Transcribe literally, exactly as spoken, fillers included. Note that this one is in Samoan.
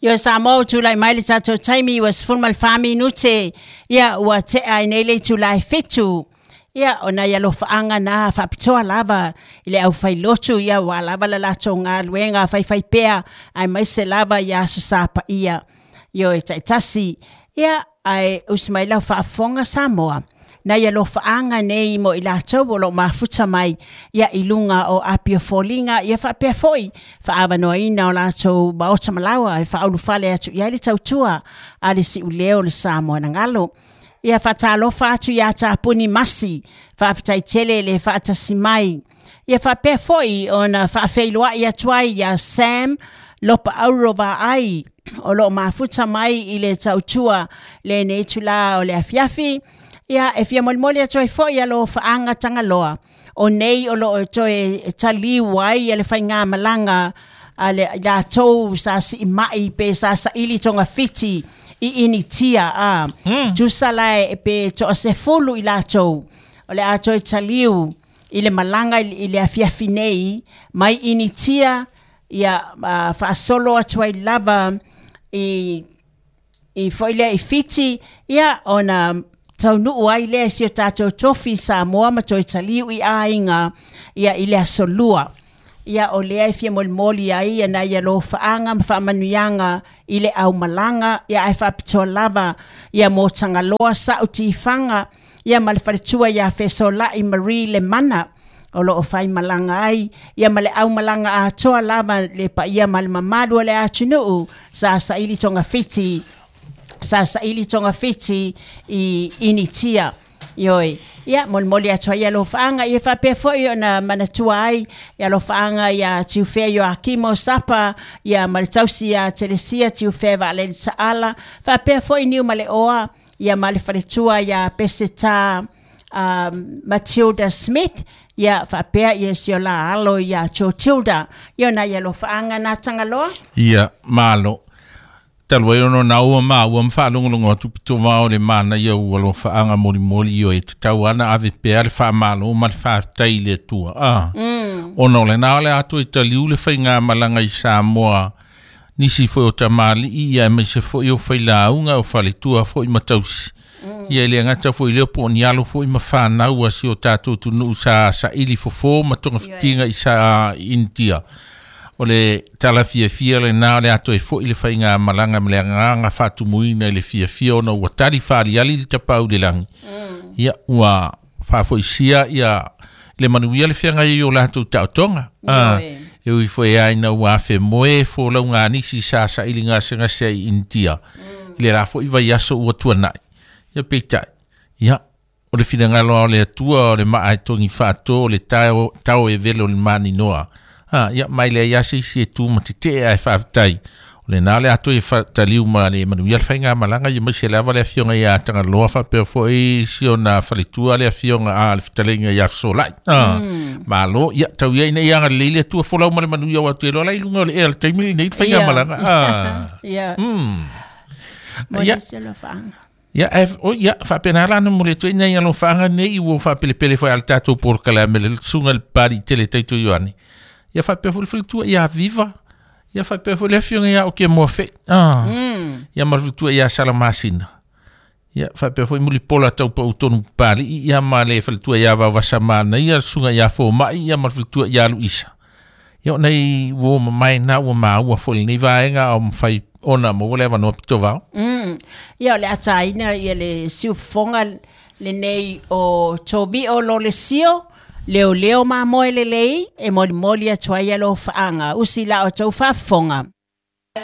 Ioe Samoa ua tulai mai le tatou taimi ua sefulu ma le fa minute ia ua tea ai nei le itulā e fitu. Ia o nai alofaaga na faapitoa lava i le aufailotu ia ua lava le latou galuega faifaipea aemaise lava ia aso sa paia. Ioe taitasi ia ae usi mai lau faafofoga Samoa. Nai alofaaga nei mo i latou o loo mafuta mai ia i luga o api o foliga ia faapea foi faaavanoaina o latou maota malaua e faaulufale atu i ai le tautua a le siuleo o le Samoa na galo. Ia faatalofa atu iā Tapuni Masi, faafetai tele le faatasi mai. Ia faapea foi ona faafeiloai atu ai iā Sam Lopaaulo Vaai o loo mafuta mai i le tautua lenei itulā o le afiafi. Ia e fia molimoli atu ai foi alofaaga Tagaloa o nei o loo toe taliu ai le faigamalaga a le latou sa siimai pe sa saili togafiti i Initia a Mm. tusa la e pe toasefulu i latou o le a toe taliu i le malaga i le afiafi nei mai Initia ia uh, faasolo atu ai lava i i foi lea i Fiti ia ona taunuu ai lea i si o tatou tofi Samoa ma toe taliu i aiga ia i le aso lua. Ia o lea e fia molimoli ai ia nai alofaaga ma faamanuiaga i le aumalaga ia ae faapitoa lava ia mo Tagaloa Sa'u Tifaga ia ma le faletua ia Fesolai Marie Lemana o loo faimalaga ai ia ma le aumalaga atoa lava le paia ma le mamalu o le atunuu sa saili togafiti sa saili togafiti i Initia. Ioe, ia molimoli atu ai alofaaga ia faapea foi ona manatua ai ia alofaaga ia Tiufea Ioakimo Sapa ia ma le tausi ia Telesia Tiufea Vaalele Taala faapea foi Niu ma le Oa ia ma le faletua ia Peseta um, Matilda Smith ia faapea ia si o la alo ia Jotilda ia nai alofaaga na Tagaloa. Ia, malo. Talu ai ona na ua maua ma faalogologo atu pitovao le manaia ua alofaaga molimoli ioe tatau ana ave pea le faamalo ma le faafetai i le Atua a Mm. ona o lena o le a toe taliu le faigamalaga i Samoa nisi foi o tamalii ia aemaise foi o failauga o faletua foi ma tausi ia e le gata foi lea po o ni alo foi ma fanau a si o tatou atunuu sa saili fofo ma togafitiga i sa Initia. O le tala fiafia lena o le a toe fo'i le faigamalaga ma le agaga faatumuina i le fiafia ona ua tali faaliali le tapau i le lagi ia ua faafoisia ia le manuia le feagai ai o latou taotoga a Ioe. e ui foi ai na ua afe moe folauga a nisi sa saili gasegase ai i Initia i le la fo'i vaiaso ua tuana'i ia peitai ia o le finagalo a o le Atua o le maa e togi faato o le tao, tao e velo le maninoa a ia mai le ia se isi e tu ma tetee ae faafetai o lena le a toe taliu ma le manuia le faigamalaga ia maise lava le afioga ia Tagaloa faapea foi si ona faletua le afioga a le fetalaiga ia Fesolai a malo ia tau ia ina ia agalelei le Atua folau ma le manuia o atu e loa la i luga o le ea le taimi lenei le faigamalaga a Ia mm mo ia nisi alofaaga. Ia, e, o, ia, faapena la na momoli atu ai nai alofaaga nei ua faapelepele foi a le tatou polokalame le susuga i le Papalii Tele Taito Ioane. Ia faapea foi le faletua ia Viva. Ia faapea foi le afioga ia Oke Moafe. Ah. Mm. Ia ma le faletua ia Salamasina. Ia faapea foi Mulipola Taupau tonu Papalii ia ma le faletua ia Vaovasamana ia le susuga ia Fomai ia ma le faletua ia Luisa. Ia o nei ua mamae na ua maua foi lenei vaega o mafai ona maua le avanoa pitovao. Mm. Ia o le ataina ia le siufofoga lenei o Tovio Lolesio leoleo mamoe lelei e molimoli atu ai alofaaga usi la o tou faafofoga.